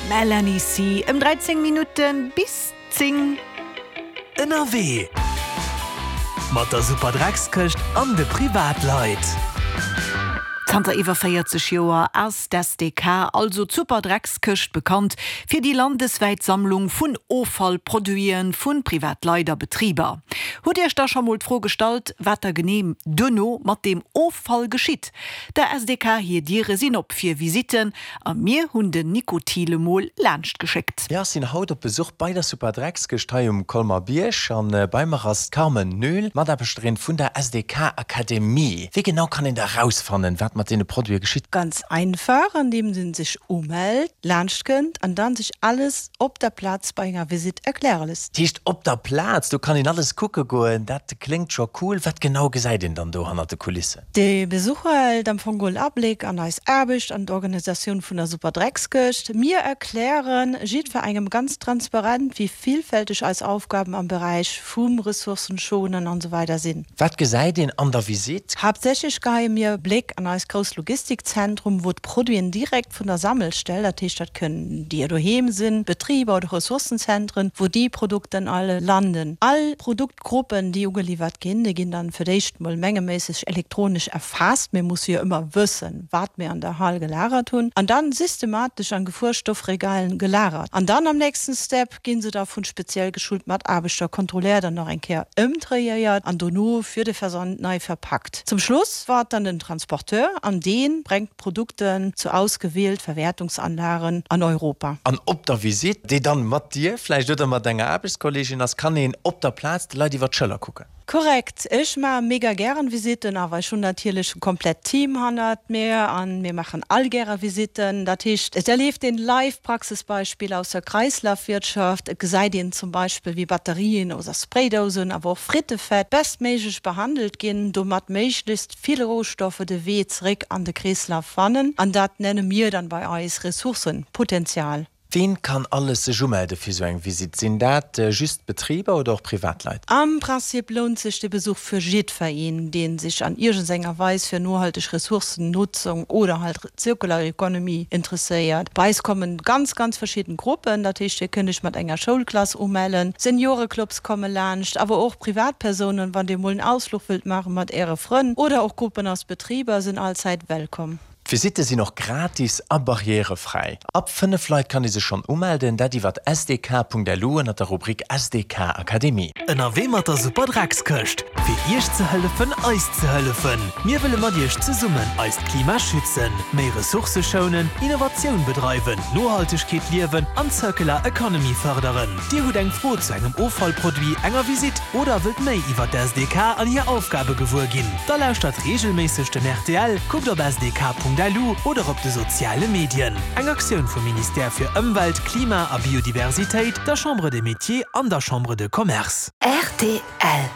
Melanie C. Ëm 13 Minutte bis 10. Ënnerwee mat der Superdreckskëscht an de Privatleit. Zanter iwwer 40 Joer ass d'SDK, also d'Superdreckskëscht, bekannt fir déi landeswäit Sammlung vun Offallproduite vu Privatleit a Betriber. Hutt Iech da scho mol d'Fro gestallt, wat da genee duerno mat deem Offall geschitt? Der SDK hir Diere sinn op fir Visitten a mir hunn den Nico Thiel emol laanscht geschéckt. Jo, ech sinn haut op Besuch bei der Superdreckskëscht hei um Colmer-Bierg an bei mer ass d'Carmen Noel, Mataarbechterin vun der SDK Akademie. Wéi genau kann een da rausfannen, wat mat deene Produite geschitt? Ganz einfach, andeems een sech umellt, laanscht kënnt an dann sech alles op der Plaz bei enger Visitt erkläre léisst. Dat heescht op der Plaz, do kann een alles kucke goen, dat kléngt scho cool. Wat genau gesäit een dann do hannert de Kulissen? De Besucher erhält am Fong geholl Abléck an eis Aarbecht an d'Organisatioun vun der Superdreckskëscht. Mir erklären jiddwerengem ganz transparent, wéi villfälteg eis Aufgaben am Beräich vum Ressourcenschonen an esou weider sinn. Wat gesäit een an der Visitt? Haaptsächlech geheie mir e Bléck an eist grousst Logistikzentrum, wou d'Produiten direkt vun der Sammelstell, dat heescht dat kënnen Dir doheem sinn, Betriber oder Ressourcenzentren, wou déi Produkten all landen. All Produktgruppen, déi ugeliwwert ginn, déi ginn dann fir d'éischt mol mengeméisseg elektronesch erfaasst, mir musse jo ëmmer wëssen, wat mir an der Hal gelagert hunn, an dann systematesch an Gefuerstoffregalen gelagert. An dann am nächsten Step ginn se da vun speziell geschult Mataarbechter kontrolléiert an nach eng Kéier ëmdréiéiert an dono fir de Versand nei verpakt. Zum Schluss waart dann den Transporteur an deen brengt d'Produkten zu ausgewielt Verwertungsanlagen an Europa. An op der Visite, déi dann mat dir vläicht oder mat enger Aarbechtskolleegin ass, kann een op der Plaz de Leit iwwer d'Schëller kucken. Korrekt, ech maache mega gären Visitten, awer ech hunn natierlech e komplett Team hannert mir an mir maachen all gäre Visitten. Dat heescht, et erlieft een live Praxisbeispiller aus der Kreislafwirtschaft, et gesäit een zum Beispill wéi Batterien oder Spraydousen, awer och Frittefett bestméiglech behandelt ginn, domat méiglechst vill Rohstoffe de Wee zeréck an de Kreeslaf fannen an dat nenne mir dann bei eis Ressourcenpotenzial. Ween kann alles sech umelde fir sou eng Visitt? Sinn dat just Betriber oder och Privatleit? Am Prinzip lount sech de Besuch fir jiddfereen, deen sech an iergendsenger Weis fir nohalteg Ressourcennutzung oder halt Circular Economy interesséiert. Bei eis kommen ganz, ganz verschidden Gruppen, dat heescht dir kënnt iech mat enger Schoulklass umellen, Senioreclubs komme laanscht, awer och Privatpersounen, wann dir mol en Ausfluch wëllt maache mat äre Frënn oder och Gruppen aus Betriber sinn allzäit wellkomm. D'Visitte sinn och gratis a barrièrefräi. Ab 5 Leit kann ee sech schonn umelden, dat iwwert sdk.lu ënnert der Rubrik SDK Akademie. Ënnerwee mat der Super Dreckskëscht, fir Iech ze hëllefen, eis ze hëllefen. Mir wëlle mat Iech zesummen eist Klima schützen, méi Ressourcë schounen, Innovatioun bedreiwen, Nohaltegkeet liewen an Circular Economy fërderen. Dir hutt eng Fro zu engem Offallproduit, enger Visitt oder wëllt méi iwwer d'SDK an hir Aufgabe gewuer ginn? Da lauschtert reegelméisseg den rtl, kuckt op sdk.lu oder op de soziale Medien. Eng Aktioun vum Ministère fir Ëmwelt, Klima a Biodiversitéit, der Chambre des Métiers an der Chambre de Commerce. Rtl.